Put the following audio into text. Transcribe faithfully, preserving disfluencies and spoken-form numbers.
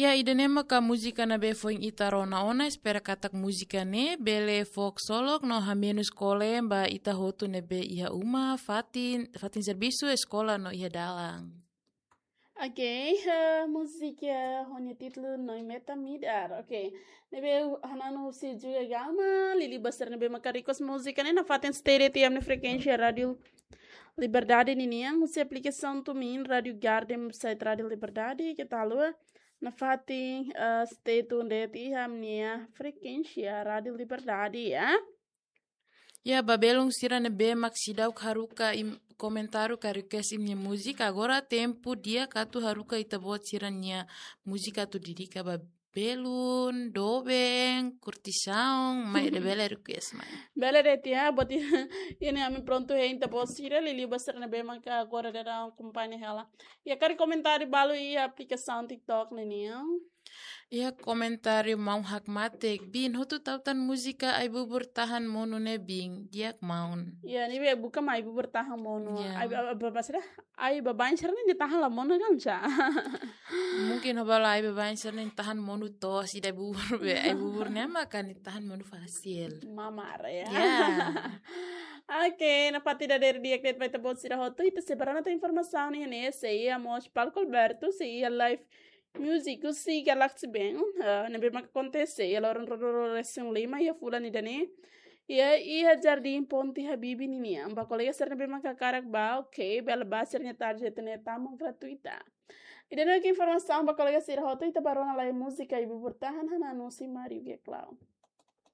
Ya, ida-ne'e maka múzika ne'ebé foin ita rona ona, espera katak múzika ne'e bele fó ksolok no hamenus kole ba ita hotu ne'ebé iha uma, fatin, fatin servisu, eskola no iha dalan. Ok, eh, múzika ho nia títulu Noin Meta Midar. Ok, ne'ebé hananu husi Juga Gama, liuliu ba sira ne'ebé maka request múzika ne'e nafatin stay de'it iha ami-nia frekuénsia Rádiu Liberdade ninian, husi aplikasaun TuneIn, Rádiu Garden, site Rádiu Liberdade, keta haluha nafatin, eh, stay tune de'it iha ami-nia frekuénsia Rádiu Liberdade, ya. Ya, ba belun sira ne'ebé mak seidauk haruka imi-nia komentáriu ka request imi-nia múzika, agora tempu di'ak atu haruka ita-boot sira-nia múzika atu dedika ba belun, doben, kurtisaun, mai ida bele request mai. Bele de'it ya, buat i-, ne'e ami prontu hein ita-boot sira, liuliu ba sira ne'ebé maka agora daudaun akompaña hela. Ya, karik komentáriu balu iha aplikasaun TikTok ninian. Iha komentáriu maun hakmatek, bin, hotu tau tan múzika Ai Bubur Tahan Monu ne'e, bin, di'ak maun. Ya, ne'ebé buka mai Ai Bubur Tahan Monu. Ya. Ai, ai, ai, maksudnya, ai baibain sira-ne'e tahan la monu kan, sa? Mungkin ho bala ai baibain sira-ne'e tahan monu to'os, ida Ai Bubur be, Ai Bubur ne'e maka nia tahan monu fasil. Mamar, ya. Ya. Ok, nafatin dadeer di'ak de'it ba ita-boot sira hotu, ita sei ba rona tan informasaun iha ne'e, sei iha mós palku abertu, sei iha live music husi Galaxy Band, eh, ne'ebé maka akontese iha loron ruanulu-resin-lima iha fulan ida-ne'e. Iha, iha Jardín Ponte Habibie ninian. Ba kolega sira ne'ebé maka hakarak bá, ok, bele bá, sira-nia tarjeta ne'e tama gratuita. Ida-ne'e maka informasaun ba kolega sira hotu, ita ba rona lai múzika Ai Bubur Tahan, hananu husi Mário Geclau.